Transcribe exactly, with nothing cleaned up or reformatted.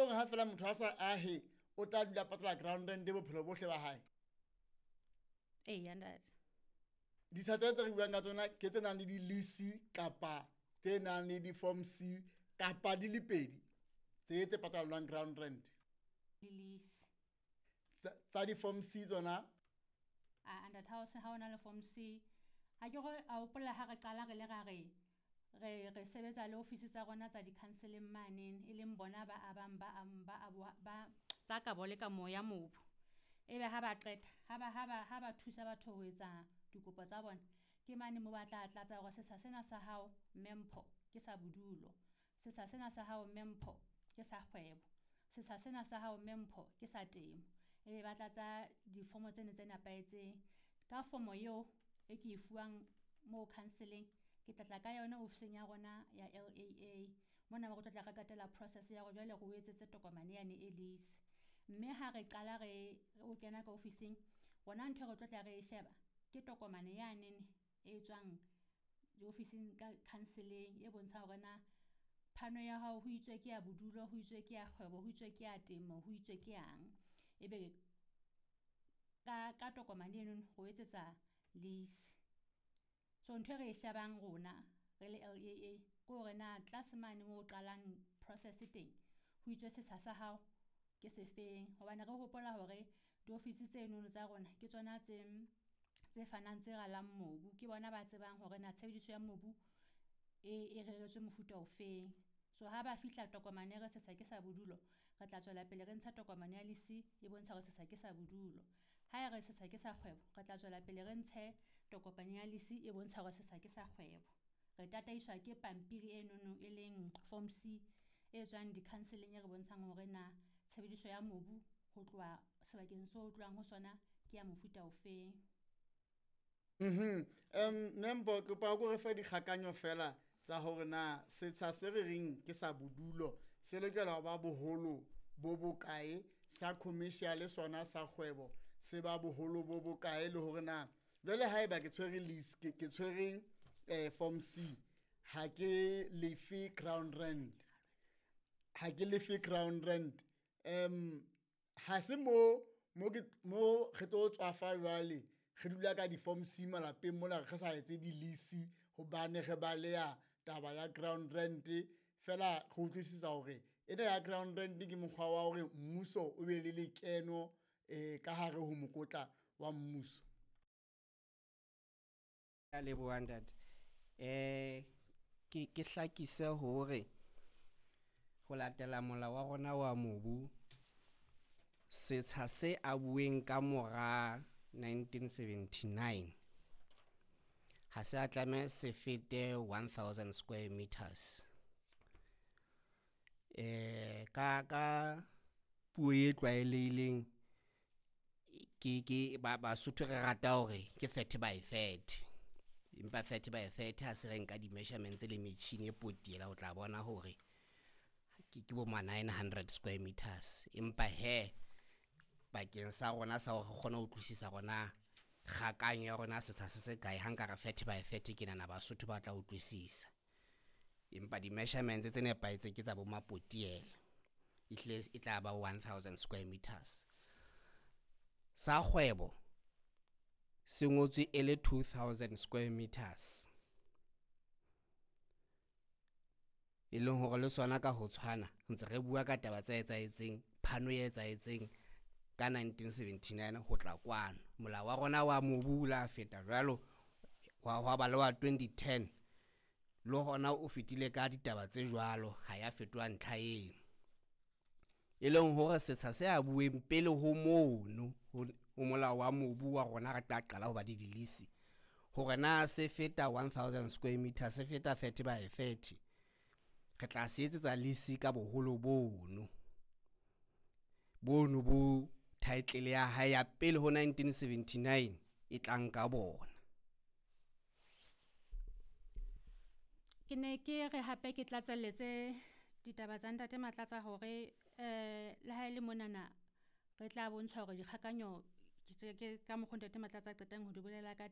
hore ha fela motho a sa ahe o tla dula patala ground rent bophelo bohle ba hae. Eya ntate. Ditsha tse tse re buang ka tsona ke tse nang le di-lease kapa tse nang le di-form C kapa di le pedi tse tse patalwang ground rent. Le lease. Tsa tsa di-form C tsona? A ntate, ha o se ha o na le form C, ha ke re a hopola ha re qala re le ra re re re sebetsa le ofisi tsa rona tsa di-council-eng manene, e leng bona ba abang ba ba ba tsa kabo le kamo ya mobu. Ebe ha ba qeta ha ba ha ba ha ba thusa batho ho etsa dikopo tsa bona, ke mane mo ba tla tlatsa hore setsha sena sa hao mme Mpho ke sa bodulo, setsha sena sa hao mme Mpho ke sa kgwebo, setsha sena sa hao mme Mpho ke sa temo. Ebe ba tlatsa difomo tsene tse nepahetseng. Ka fomo eo e ke e fuwang moo council-eng, ke tla tla ka yona ofising ya rona ya L A A. Mona mo re tlo tla re katela process ya hore jwale re o etsetse tokomane yane e lease. Mme ha re qala re o kena ka ofising, rona ntho e re tlo tla re e sheba ke tokomane yane e tswang diofising ka council-eng e bontshang hore na phano ya hao ho itswe ke ya bodulo, ho itswe ke ya kgwebo, ho itswe ke ya temo, ho itswe ke yang. Ebe ka, ka tokomane eno ho etsetsa lease. So ntho e re e shebang rona re le L A A ke hore na tlase mane moo o qalang process teng ho itswe setsha sa hao ke sefeng, hobane re hopola hore diofisi tsenono tsa rona ke tsona tse tse fanang tse ralang mobu, ke bona ba tsebang hore na tshebediso ya mobu e, e reretswe mofuta ofeng. So ha ba fihla tokomane re setsha ke sa bodulo, re tla tswela pele re ntsha tokomane ya lease e bontsha hore setsha ke sa bodulo. Ha e re setsha ke sa kgwebo, re tla tswela pele re ntshe tokomane ya lease e bontsha hore setsha ke sa kgwebo. Re tataiswa ke pampiri e nono e leng form C e tswang di-council-eng e re bontshang hore na tshebediso ya mobu ho tloha sebakeng seo o tlohang ho sona ke ya mofuta ofeng. Mhm. Um Mme Mpho, kopa o re fe dikgakanyo fela tsa hore na setsha se re reng ke sa bodulo se lokela ho ba boholo bo bokae, sa commercial sona sa kgwebo se ba boholo bo bokae, le hore na jwale haeba ke tshwere lease, ke, ke tshwere, eh, form C, ha ke lefe ground rent, ha ke lefe ground rent, um ha se mo, mo ke, mo re tlo tswafa jwale re dula ka di-form C malapeng mona re sa etse di-lease hobane re baleha taba ya ground rent. Fela re utlwisisa hore ena ya ground rent ke mokgwa wa hore mmuso o be le lekeno, eh, ka hare ho mokotla wa mmuso. Ya leboha ntate. Eh, ke, ke hlakise hore ho latela molao wa rona wa mobu, setsha se abuweng ka mora nineteen seventy-nine ha se a tlameha se fete one thousand square meters. Eh, ka, ka puo e tlwaelehileng, ke, ke, ba, Basotho re rata hore ke thirty by thirty. Empa thirty by thirty ha se re nka di-measurements le metjhini e potiela, o tla bona hore ke, ke bo ma nine hundred square meters. Empa he, bakeng sa rona sa hore re kgone ho utlwisisa rona kgakanyo ya rona setsha se se kae, ha nka re thirty by thirty ke nahana Basotho ba tla utlwisisa. Empa di-measurements tse nepahetseng ke tsa bo mapotiela, ehlile e tla ba one thousand square meters. Sa kgwebo se ngotswe e le two thousand square meters, e leng hore le sona ka ho tshwana ntse re bua ka taba tse etsahetseng, phano e etsahetseng ka nineteen seventy-nine ho tla kwano. Molao wa rona wa mobu o la feta jwalo, wa, wa ba le wa twenty ten, le hona o fetile ka ditaba tse jwalo, ha ya fetoha ntlha eno. E leng hore setsha se abuweng pele ho mono, ho, ho molao wa mobu wa rona re tla qala ho ba le di-lease, hore na se feta one thousand square meters, se feta thirty by thirty, re tla se etsetsa lease ka boholo bono. Bono bo title ya hae ya pele ho nineteen seventy-nine e tla nka bona. Ke ne ke re hape ke tlatselletse ditaba tsa ntate Matlatsa hore, eh, le ha e le monana re tla bontshwa hore dikgakanyo ke tse, ke ka mokgo ntate Matlatsa a qetang ho di bolela ka teng.